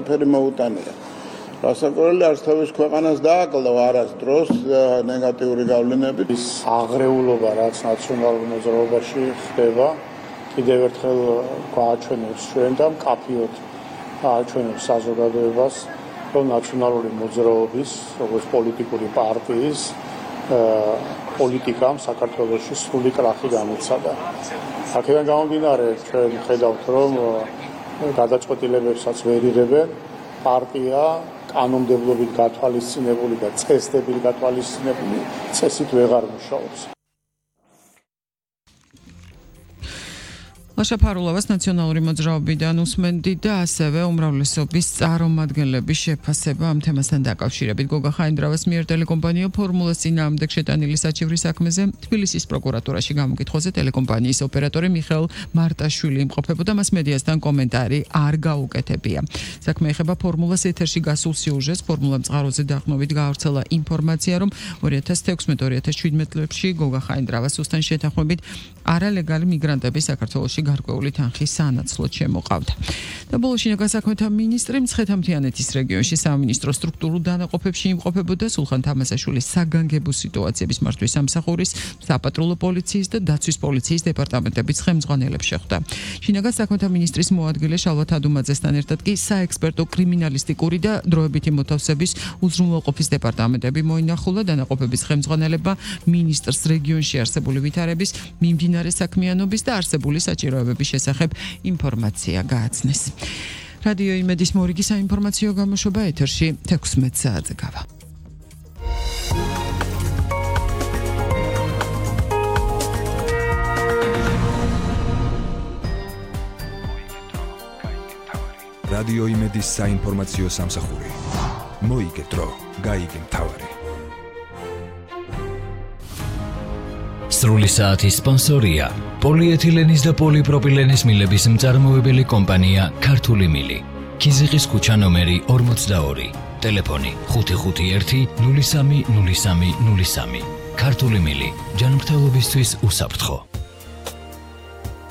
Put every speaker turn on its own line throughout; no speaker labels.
ყველაფერი მოუტანია. Რასაკვირველია, არც თავის ქვეყანას დააკლდა არასდროს ნეგატიური გავლენები.
ის აღრეულობა, რაც ნაციონალურ მოძრაობაში ხდება, კიდევ ერთხელ გვააჩვენებს ჩვენ და მკაფიოდ აჩვენებს საზოგადოებას, რომ ნაციონალური მოძრაობის, როგორც პოლიტიკური პარტიის პოლიტიკამ საქართველოში სრული კრახი განიცადა. აქედან გამომდინარე, ჩვენ ხედავთ, რომ გადაწყვეტილებებსაც ვერ იღებენ, პარტია კანონმდებლობით გათვალისწინებული და წესდებით გათვალისწინებული წესით ვეღარ მუშაობს.
ლაშა ფარულოვას ნაციონალური მოძრაობიდან უსმენდი და ასევე უმრავლესობის წარმომადგენლების შეფასება ამ თემასთან დაკავშირებით. გოგა ხაინდრავას მიერ ტელეკომპანია ფორმულას წინააღმდეგ შეტანილი საჩივრის საქმეზე თბილისის პროკურატურაში გამოკითხვაზე ტელეკომპანიის ოპერატორი მიხეილ მარტაშვილი იმყოფებოდა, მას მედიასთან კომენტარი არ გაუკეთებია. საქმე ეხება ფორმულას ეთერში გასულ სიუჟეტს. ფორმულა მწყაროზე დაყრდნობით გაავრცელა ინფორმაცია, რომ 2016-2017 წლებში გოგა ხაინდრავას სუსტან შეთანხმებით არალეგალი მიგრანტები საქართველოში გარკვეული თანხის სანაცვლოდ შემოყავდა. და ბოლოს შინაგან საქმეთა მინისტრი მცხეთა-მთიანეთის რეგიონში სამინისტრო სტრუქტურულ დანაყოფებში იმყოფებოდა. სულხან თამასაშვილის საგანგებო სიტუაციების მართვის სამსახურის, საპატრულო პოლიციის და დაცვის პოლიციის დეპარტამენტების ხელმძღვანელებს შეხვდა. შინაგან საქმეთა მინისტრის მოადგილე შალვა თადუმაძესთან ერთად კი საექსპერტო კრიმინალისტიკური და დროებითი მოთავსების უზრუნველყოფის დეპარტამენტები მოინახულა. დანაყოფების ხელმძღვანელებმა მინისტრს რეგიონში არსებული ვითარების, მიმდინარე საქმიანობის და არსებული საჭიროებების შესახებ ინფორმაცია გააცნეს. რადიო იმედის მორიგი საინფორმაციო გამოშვება ეთერში 16 საათზე გავა.
რადიო იმედის საინფორმაციო სამსახური. მოიგე დრო, გაიგე მთავარი.
სრული საათის სპონსორია პოლიეთილენის და პოლიპროპილენის მილების მწარმოებელი კომპანია ქართული მილი. ქიზიყის ქუჩა ნომერი 42. ტელეფონი 551 03 03 03. ქართული მილი. ჯანმრთელობისთვის უსაფრთხო.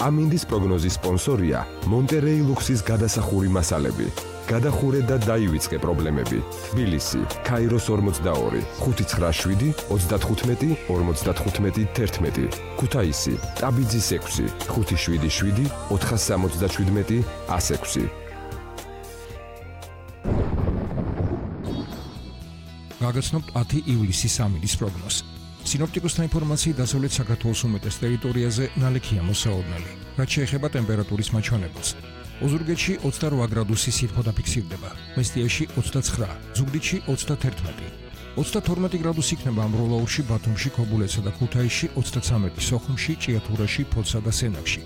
ამინდის პროგნოზის სპონსორია მონტერეი ლუქსის გადასახური მასალები. გადახურე და დაივიწყე პრობლემები. თბილისი, ქაიროს 42, 597 35 55 11. ქუთაისი, ტაბიძის 6, 577 477 106.
გაგაცნობთ 10 ივლისის ამინდის პროგნოზი. სინოპტიკოსთა ინფორმაციით დასავლეთ საქართველოს უმეტეს ტერიტორიაზე ნალექია მოსაოდნელი, რაც შეეხება ტემპერატურის მაჩვენებელს. ოზურგეთში 28 გრადუსი სითბო დაფიქსირდება, მესტიაში 29, ზუგდიდში 31. 32 გრადუსი იქნება ამბროლაურში, ბათუმში, ქობულეთსა და ქუთაისში, 33 სოხუმში, ჭიათურაში, ფოთსა და სენაკში.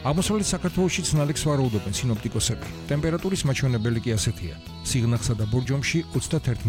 აღმოსავლეთ საქართველოშიც ნალექს ვარაუდობენ სინოპტიკოსები. ტემპერატურის მაჩვენებელი კი ასეთია: სიღნაღსა და ბორჯომში 31